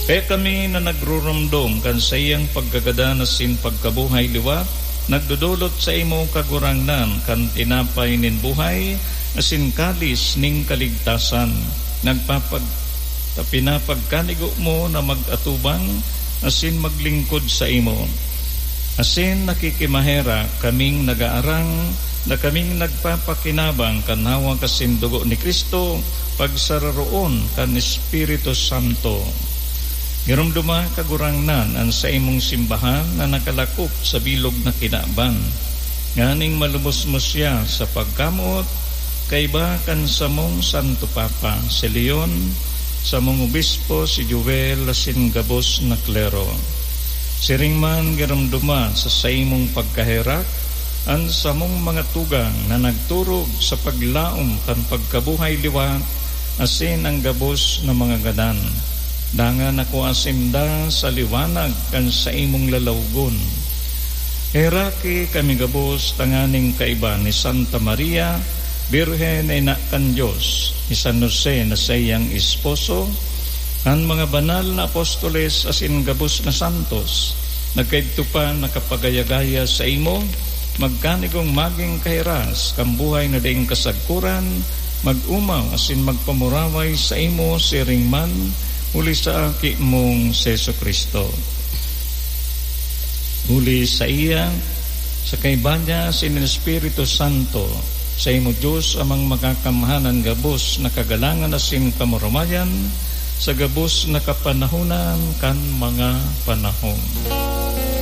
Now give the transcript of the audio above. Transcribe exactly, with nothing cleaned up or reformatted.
Kaya kami na nagruromdom kan saiyang pagkagadan asin pagkabuhay liwat, nagdodolot saimo, Kagurangnan, kan tinapay nin buhay asin kalis nin kaligtasan. Nagpapag-, pinapagkanigo mo na mag-atubang asin maglingkod saimo. Asin nakikimaherak kaming nagaarang na kaming nagpapakinabang kan hawak asin dugo ni Cristo, pagsararoon kan Espiritu Santo. Giromdoma, Kagurangnan, an saimong simbahan na nakalakop sa bilog na kinaban, nganing malubos mo siya sa pagkamoot, kaiba kan samong Santo Papa, si Leon, samong obispo, si Joel, asin gabos na klero. Siring man, giromdoma sa saimong pagkaherak an samong mga tugang na nagturog sa paglaom kan pagkabuhay liwat asin an gabos na mga gadan. Dangan ako asinda sa liwanag kan saimong lalawgon. Heraki kami gabos tanganing kaiba ni Santa Maria, Birhen na ina kan Dios, ni San Jose na saiyang esposo, an mga banal na apostoles asin gabos na santos, nagkaidto pa nakapagayagaya saimo, magkanigong magin kahiras kan buhay na daing kasagkoran, mag-omaw asin magpamuraway saimo siring man, huli sa Aki mong si Jesu-Cristo. Huli saiya, sa kaiba niya asin nin Espiritu Santo, saimo Dios Amang makakamhan an gabos na kagalangan asin kamurawayan, sa gabos na kapanahonan kan mga panahon.